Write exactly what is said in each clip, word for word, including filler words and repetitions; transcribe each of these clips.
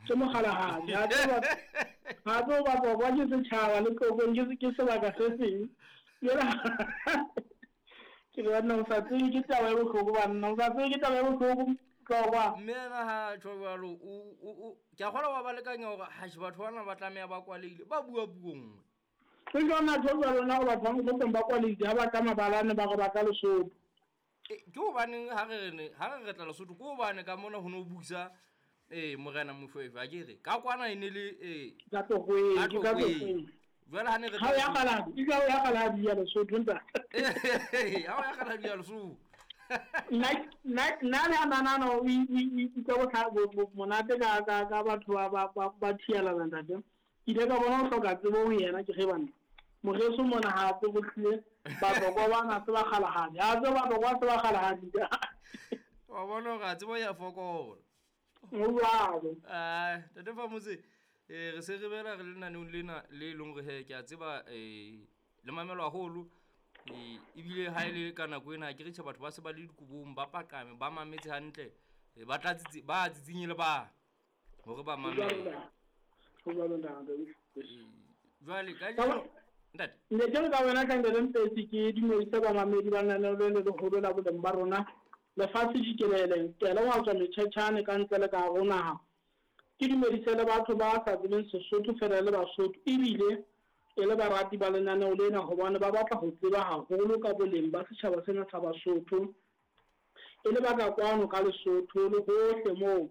Ke mokgalahadi. Ha tsebe ha tsebe Batlokwa ke setjhaba le Tlokweng ke ke sebaka se seng. Ke re banna ho sa tsebe ke taba e bohloko banna, ho sa tsebe ke taba e bohloko Tlokwa. Mme ena ha tjho jwalo o o ke a kgolwa wa ba lekanya hore ha batho bana ba tlameha ba kwalehile ba bua puo nngwe. Ke jona tjho jwalo na batho ba Mokhotlong ba kwalehile ha ba tla mabalane ba re ba tla Lesotho. Ke hobaneng ha re re ha re re tla Lesotho ke hobane ka mona ho no busa eh morena Moshoeshoe a ke re ka kwana e ne le eh ka Tlokweng, ke ka Tlokweng. Jwale ha ne re Ha o ya Kgaladi, ke ha o ya Kgaladi ya Lesotho ntate. Ha o ya Kgaladi ya Lesotho. Nna nna nna le nana o utlwa monate ka ka ka batho ba ba ba ba thialana ntate. Ke ile ka bona ho hloka tsebo ho yena ke re banna. Moreso mona ha tsebe hlile Batlokwa bana se ba kgalahadi. Ha tsebe Batlokwa se ba kgalahadi. Wa bona hore a tsebo ya fokola. Ho jwalo. Ah, Ntate Phamotse, eh re se re bela re le lenaneong lena le leng hore he ke a tseba eh le mamelwa haholo. Eh ebile ha ele ka nako ena ke re tjhe batho ba se ba le dikobong ba paqame ba mametse hantle ba tla tsitsi ba tsitsinye le ba hore ba mamele. Ho jwalo ntate. Jwale ka jeno ntate. Ne ke re ka wena ka Ntate Mpetsi ke dumedise bamamedi ba lenaneo le le leholo la boleng ba rona lefatshe jikelele kele wa tswa metjhetjhane ka ntle le ka hare ho naha. Ke dumedise le batho ba sa tsebeng Sesotho fela le Basotho ebile e le barati ba lenaneo lena hobane ba batla ho tseba haholo ka boleng ba setjhaba sena sa Basotho. E le ba ka kwano ka Lesotho le hohle moo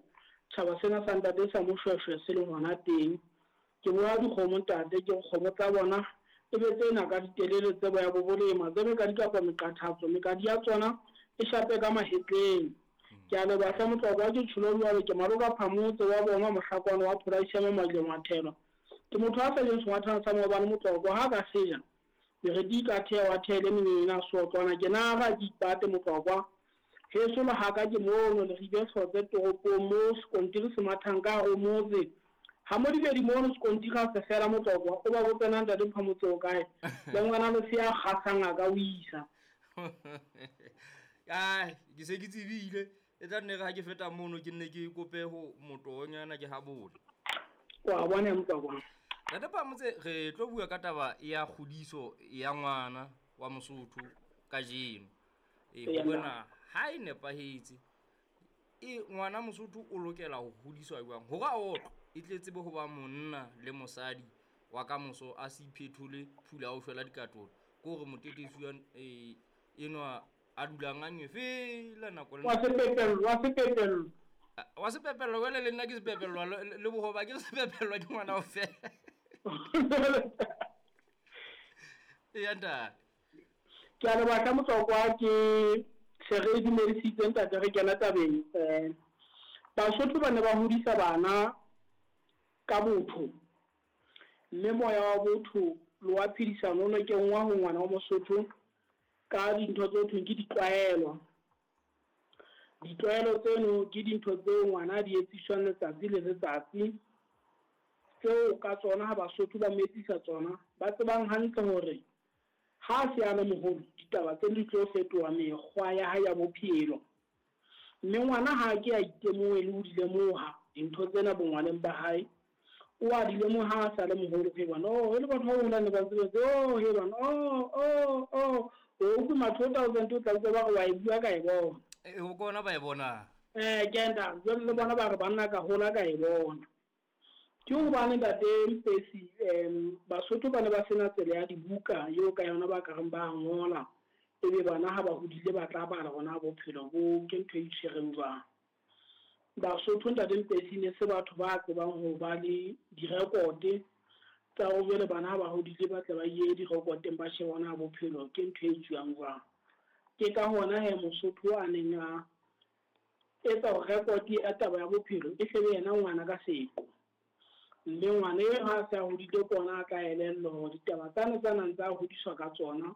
tjhaba sena sa ntate sa Moshoeshoe se leng hona teng. Ke boha dikgomo ntate, ke kgomo tsa bona e be tsena ka ditelele tse boya bo bolema, tse be ka dikapa meqathatso, mekadi ya tsona e shape ka mahetleng. Ke a leboha hle Motlokwa, ke tjholo jwale ke maloka Phamotse wa bona mohlakwana wa Pholaisi ya Mamaleng wa Thelo. Ke motho a sa jeng sengwathana sa maobane Motlokwa ha ka seja meriti ka thea wa thele menena sotlwana ke nara ke ipate Motlokwa. Heso le haka ke mono le ribe hlotse toropong mo sekontiri se mathang ka hare ho motse. Ha mo dibedi mono sekontiri ha se fela Motlokwa o ba botsena Ntate Phamotse o kae le ngwana le se ya kgasang a ka o isa. Ai, ke se ke tsebile e tla nne re ha ke feta mono ke nne ke kope ho motonyana ke habole. Wa bona Motlokwa. Ntate Phamotse re tlo bua ka taba ya kgodiso ya ngwana wa Mosotho kajeno. E bona ha e nepahetse e ngwana Mosotho o lokela ho hodiswa jwang hore a otlwe e tle tsebe ho ba monna le mosadi wa ka moso a se iphethole phula o shwela dikatolo ke hore motetesi wa e enwa a dulang a nngwe fela nako le Wa sepepello, wa sepepello. Wa sepepello wele le nna ke sepepello le bohoba ke sepepello ke ngwana o fela. E ntate. Ke a leboha Motlokwa ke se re dumedisitse ntate re kena tabeng. Eh Basotho ba ne ba hodisa bana ka botho mme moya wa botho le wa phedisano o ne kenngwa ho ngwana wa Mosotho ka dintho tse thweng ke ditlwaelo. Ditlwaelo tseno ke dintho tseo ngwana a di etsiswang letsatsi le letsatsi tseo ka tsona ha Basotho ba mo etsisa tsona ba tsebang hantle hore ha se a le moholo ditaba tse di tlo fetoha mekgwa ya hae ya bophelo. Mme ngwana ha ke a itemohe le ho di lemoha dintho tsena bongwaneng ba hae, o a di lemoha ha sa le moholo he bana oh le batho ba baholo ne ba tsebe oh he bana oh oh oh o utlwe matho thousand o tla utlwa ba re wa e bua ka e bona. E ho kona ba e bona. Eh ke nda jwale le bona ba re banna ka hola ka e bona. Ke hobane Ntate Mpetsi em Basotho ba ne ba sena tsela ya dibuka eo ka yona ba ka reng ba ngola ebe bana ha ba hodile ba tla bala hona bophelo bo ke ntho e itshwereng jwang. Basotho Ntate Mpetsi ne se batho ba tsebang ho ba le direkote tsa ho jwale bana ha ba hodile ba tle ba ye direkoteng ba shebe hona bophelo ke ntho e tswang jwang. Ke ka hona he Mosotho a neng a etsa hore rekote ya taba ya bophelo e hlebe yena ngwana ka seqo. Mme ngwana eo ha se a hodile ke ona a tla elellwa hore ditaba tsane tsa nang tsa hodiswa ka tsona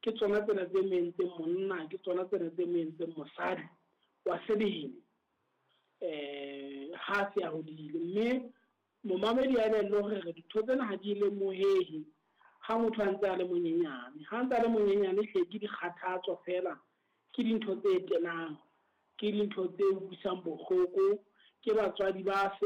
ke tsona tsena tse mo entseng monna, ke tsona tsena tse mo entseng mosadi wa sebele eh ha se a hodile. Mme momamedi a elellwe hore re dintho tsena ha di lemohehe ha motho a ntse a le monyenyane. Ha ntse a le monyenyane hle ke dikgathatso fela, ke dintho tse tenang, ke dintho tse utlwisang bohloko, ke batswadi ba